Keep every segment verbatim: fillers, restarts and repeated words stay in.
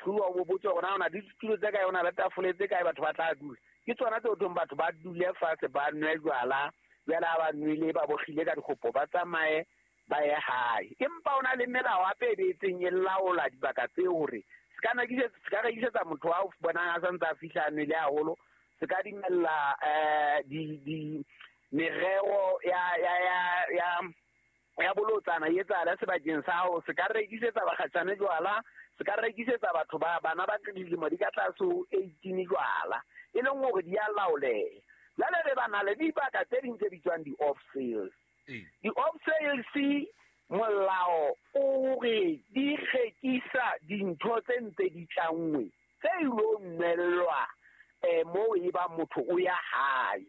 hlahloba o botse hore na ona le ditulo tse kae, ona le tafole tse kae, batho ba tla dula. Ke tsona tse thong batho ba dule fatshe ba nwe jwala, jwale ha ba nwele ba bogile ka dikgopo ba tsamaye ba ye hae. Empa o na le melao hape e beetseng e laola dibaka tseo hore se ka se ka rekisetsa motho wa o bonang a santse a fihla a nwele haholo, se ka dumella eh di di merero ya ya ya ya ya bolotsana e etsahala sebakeng sa hao, se ka rekisetsa bakgatjhane jwala, se ka rekisetsa batho ba bana ba dilemo di ka tlase ho eighteen jwala, e leng hore di a laoleha. Jwale re ba na le dibaka tse ding tse bitswang di-off sales. Di-off sales molao o re di rekisa dintho tse ntse di tlanngwe tse ilo nwellwa eh moo e ba motho o ya hae.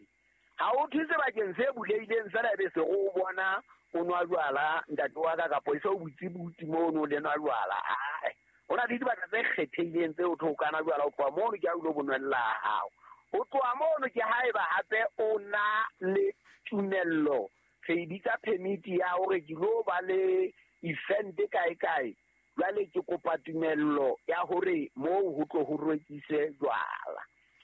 Ha o thwe sebakeng se bulehileng fela ebe se o bona o nwa jwala ntate wa ka kapo e se o butse buti mono le nwa jwala. Ae, ho na le dibaka tse kgethehileng tse o tho kana jwala, o tloha mono ke ha o ilo bonwella hao. Ho tloha mono ke haeba hape o na le tumello, re e bitsa permit ya hore ke lo ba le event kae kae, jwale ke kopa tumello ya hore moo ho tlo ho rekiswe jwala.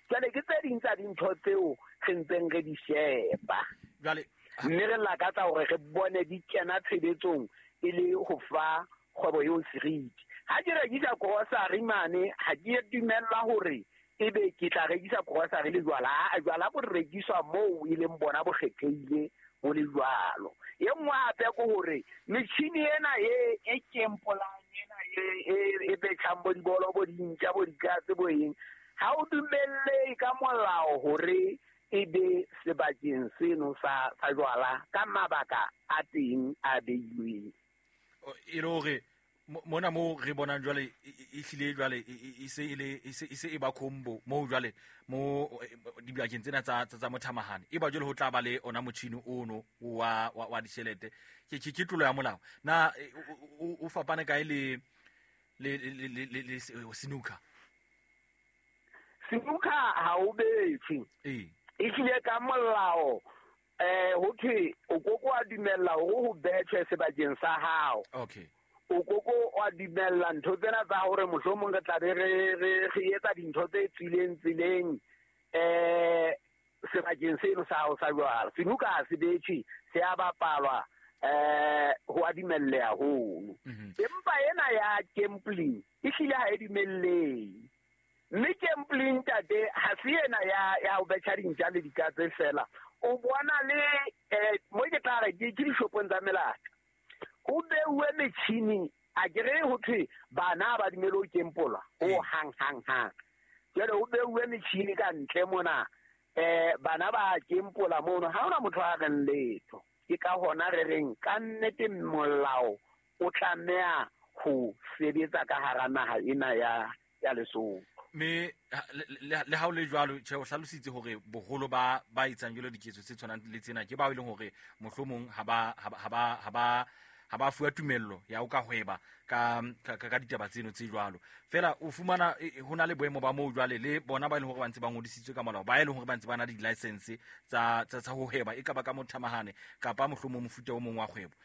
Jwale ke tse ding tsa dintho tseo re ntseng re di sheba. Jwale mme re lakatsa hore re bone di kena tshebetsong e le ho fa kgwebo eo seriti. Ha ke rekisa grocery mane, ha ke dumella hore ebe ke tla rekisa grocery le jwala. Ha jwala bo rekiswa moo e leng bona bo kgethehile bo le jwalo. E nngwe hape ke hore metjhini ena e e kempolang ena e e e betjhang bo dibolo bo dintja bo dikatse bo eng, ha o dumelle ka molao hore e be sebakeng seno sa sa jwala ka mabaka a teng a beilweng. E le hore mona moo re bonang jwale e hlile jwale e se e le e se e se e ba combo moo jwale mo dibakeng tsena tsa tsa mothamahane e ba jwale ho tla ba le ona motjhini ono wa wa ditjhelete. Ke ke ke tlolo ya molao. Na o fapane kae le le le le le snooker? Snooker ha o bethe. Eh. E hlile ka molao eh ho thwe o koko wa dumella hore ho betjhe sebakeng sa hao. Okay. O koko wa dumella ntho tsena tsa hore mohlomong re tla be re re re etsa dintho tse tswileng tseleng eh sebakeng seno sa hao sa jwala. Snooker ha se betjhe, se a bapalwa eh ho a dumelleha hono. Empa ena ya gambling e hlile ha e dumellehe. Mme gambling ntate ha se ena ya ya ho betjha dintja le dikatse fela. O bona le eh mo ke tla re ke dishopong tsa melata. Ho beuwe metjhini, a ke re ho thwe bana ba dumele ho kempola ho hang hang hang. Jwale ho beuwe metjhini ka ntle mona eh bana ba kempola mono, ha hona motho a reng letho. Ke ka hona re reng ka nnete molao o tlameha ho sebetsa ka hara naha ena ya ya Lesotho. Me le ha o le jwalo tjhe o hlalositse hore boholo ba ba etsang jwalo diketso tse tshwanang le tsena ke bao e leng hore mohlomong ha ba ha ba ha ba ha ba fuwa tumello ya ho ka hweba ka ka ditaba tseno tse jwalo. Fela o fumana ho na le boemo ba moo jwale le bona ba e leng hore ba ntse ba ngodisitswe ka molao, ba e leng hore ba ntse ba na le di-license tsa tsa tsa ho hweba, e ka ba ka mothamahane kapa mohlomong mofuta o mong wa kgwebo.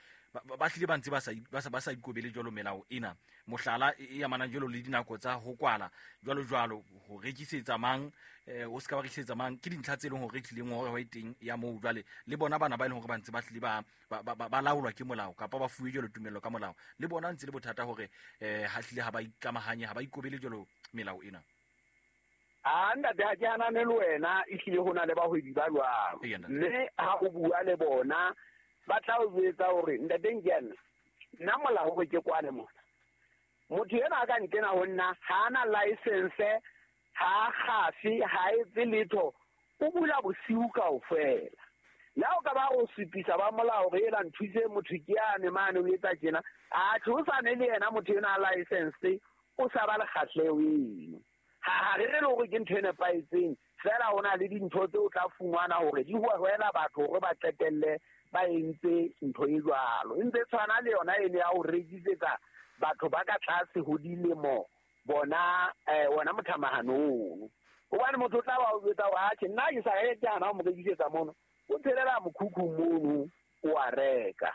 Ba hlile ba ntse ba sa ba sa ba sa ikobele jwalo melao ena. Mohlala e amanang jwalo le dinako tsa ho kwala jwalo jwalo, ho rekisetsa mang o se ka ba rekisetsa mang, ke dintlha tse leng hore tlileng hore ho teng ya moo jwale le bona bana ba e leng hore ba ntse ba hlile ba ba laolwa ke molao kapa ba fuwe jwalo tumello ka molao, le bona ntse le bothata hore eh ha hlile ha ba ikamahanye, ha ba ikobele jwalo melao ena. A ntate ha ke hanane le wena, e hlile ho na le bahwebi ba jwalo. Mme ha o bua le bona ba tla o jwetsa hore ntate Nkiane, nna molao hore ke kwane mona. Motho ena a ka nkena ho nna ha ana license, ha kgafe, ha etse letho, o bula bosiu kaofela. Le ha o ka ba o supisa ba molao hore ela nthuse motho ke yane mane o etsa tjena, atjhe o sane le yena motho ena a license, o sa ba le kgahleho eno. Ha ha re re le hore ke ntho e nepahetseng, fela ho na le dintho tse o tla fumana hore di hohela batho hore ba qetelle ba entse ntho e jwalo. E ntse tshwana le yona ene ya ho rekisetsa batho ba ka tlase ho dilemo bona eh wona mothamahano ono. Hobane motho o tla ba o jwetsa hore atjhe nna ke sa reke hana ho mo rekisetsa mono, o tshelela mokhukhu mono o a reka.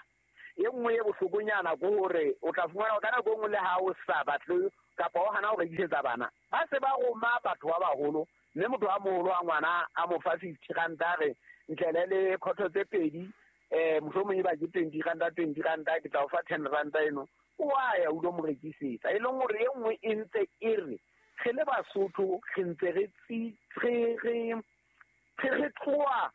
E nngwe e bohlokonyana ke hore o tla fumana ka nako e nngwe le ha o sa batle kapa o hana ho rekisetsa bana ba se ba roma batho ba baholo mme motho a moholo wa ngwana a mo fa fifty ranta re ntlele le khotho tse pedi eh mohlomong e ba ke twenty ranta twenty ranta ke tla o fa ten ranta eno o a ya o lo mo rekisetsa e leng hore e nngwe e ntse e re re le Basotho re ntse re re re re tloha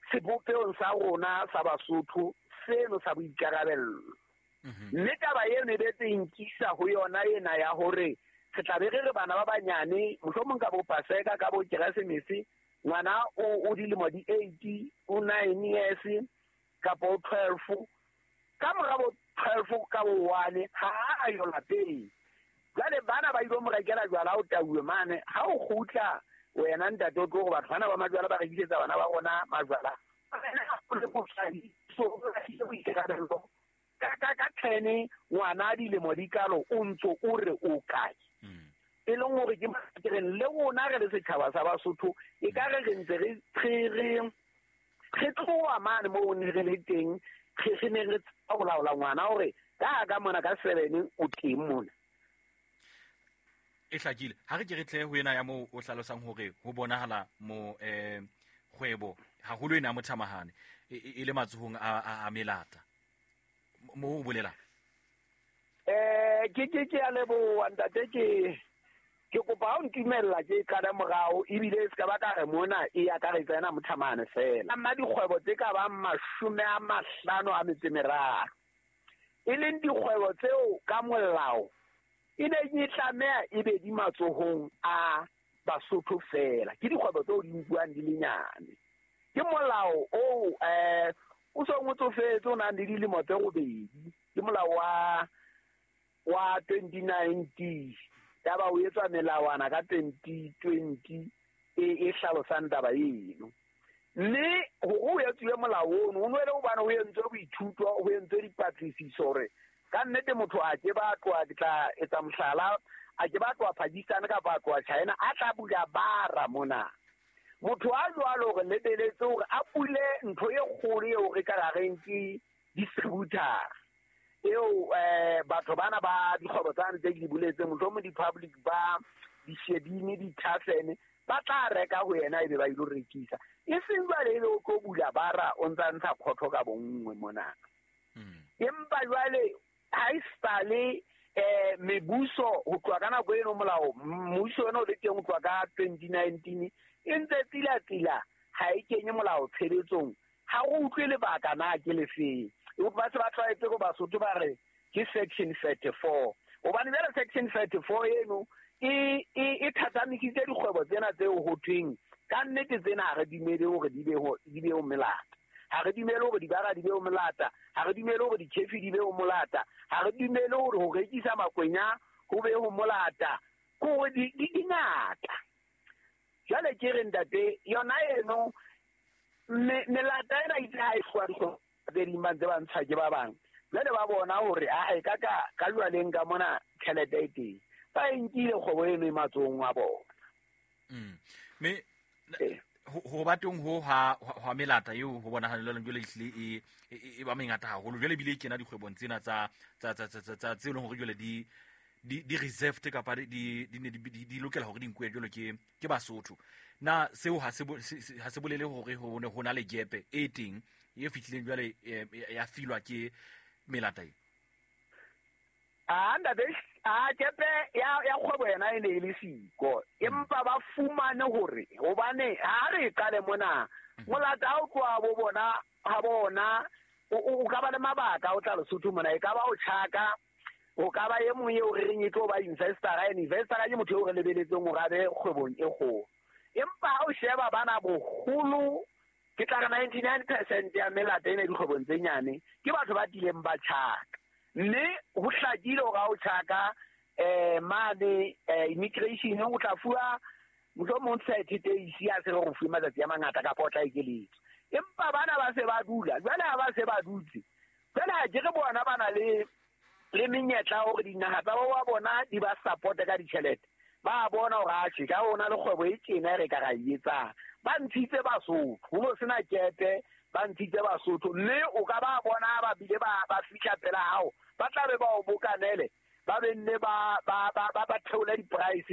sebopehong sa rona sa Basotho seno sa boikarabello. Mme taba eno e betse nkisa ho yona ena ya hore re tla be re re bana ba banyane mohlomong ka bo Paseka ka bo Keresemese ngwana o o dilemo di eight o nine years kapa o twelve ka mora bo twelve ka bo one ha a yo lapeng. Jwale bana ba ilo mo rekela jwala o tauwe mane ha o kgutla wena ntate o tlo go batho bana ba majwala ba rekisetsa bana ba rona majwala so boikarabelo ka ka ka ten ngwana dilemo di kalo o ntso o re o kae e leng hore ke makereng le rona re le setjhaba sa Basotho e ka re re ntse re re re tloha mane moo ne re le teng re ne re tsaba ho laola ngwana hore ka ka mona ka seven o teng mona. E hlakile ha re ke re tle ho ena ya moo o hlalosang hore ho bonahala mo eh kgwebo haholo ena mothamahane e le matsohong a a melata mo o bolela eh ke ke ke a leboha ntate ke ke kopa ha o ntumella ke qala morao ebile se ka ba ka re mona e akaretsa ena mothamahane fela amma dikgwebo tse ka bang mashome a mahlano a metso e meraro e leng dikgwebo tseo ka molao e ne e tlameha e be di matsohong a Basotho fela ke dikgwebo tseo di nkuwang di le nyane ke molao o eh o so ngotsofetse o nang le dilemo tse robedi ke molao wa wa twenty nineteen taba o etswa melawana ka twenty twenty e e hlalosang taba eno mme hore o etsuwe molao ono o nwele hobane o entswe boithuto o entswe dipatlisiso hore ka nnete motho a ke ba tloha ke tla etsa mohlala a ke ba tloha Pakistan kapa a tloha China a tla bula bara mona motho a jwalo hore lebeletse hore a bule ntho e kgolo eo re ka reng ke distributor eo eh batho bana ba dikgwebo tsane tse ke di boletseng mohlomong di-public ba dishebini di-tavern ba tla reka ho yena ebe ba ilo rekisa e seng jwale ebe o tlo bula bara o ntsa ntsha khotho ka bonngwe mona. Empa jwale ha e sale eh mebuso ho tloha ka nako eno molao mmuso ona o le teng ho tloha ka twenty nineteen e ntse tsila tsila ha e kenye molao tshebetsong ha o utlwe lebaka na ke lefeng ba se ba tlwaetse go Basotho ba re ke section thirty-four hobane jwale section thirty-four eno e e e thathamisitse dikgwebo tsena tseo ho thweng ka nnete tsena ha re dumele hore di be ho di be ho melata ha re dumele hore dibara di be ho molata ha re dumele hore dikhefi di be ho molata ha re dumele hore ho rekisa makwenya ho be ho molata ko di di ngata. Jwale ke re ntate yona eno melata ena itse ha e tloha dikgwebo tse ding ba ntse ba ntsha ke ba bang jwale ba bona hore ae ka ka ka jwaleng ka mona tjhelete e teng ba e nkile kgwebo eno e matsohong a bona. Mme ho ba teng ho ha ha melata eo ho bonahala jwale ehlile e e ba mengata haholo jwale ebile e kena dikgwebong tsena tsa tsa tsa tsa tse leng hore jwale di di di reserved kapa di di ne di di lokela hore di nkuwe jwalo ke ke Basotho na seo ha se ha se bolele hore ho ne ho na le gepe e teng e fihlileng jwale ya filwa ke melata e a ntate a gepe ya ya kgwebo yena e ne e le siko empa ba fumane hore hobane ha re qale mona molata ha o tloha bo bona ha bona o ka ba le mabaka o tla Lesotho mona e ka ba o tjhaka o ka ba e mong eo re reng e tlo ba investor a investor ke motho eo re lebeletseng hore a be kgwebong e kgolo empa ha o sheba bana boholo ke tla re ninety-nine percent ya melata ena dikgwebong tse nyane ke batho ba tileng ba tjhaka mme ho hlakile hore ha o tjhaka eh mane immigration o tla fuwa mohlomong thirty days ya se re go fuwe matsatsi a mangata kapa o tla ekeletswa empa bana ba se ba dula jwale ha ba se ba dutse jwale ha ke re bona ba na le le menyetla hore dinaha tsa bo ba bona di ba support ka ditjhelete ba bona hore atjhe ka ona le kgwebo e tjena re ka ra e etsang ba ntshitse Basotho ho no sena kepe ba ntshitse Basotho mme o ka ba bona ba bile ba ba fihla pela hao ba tla be ba o bokanele Ba benne ba ba ba ba theola di-price.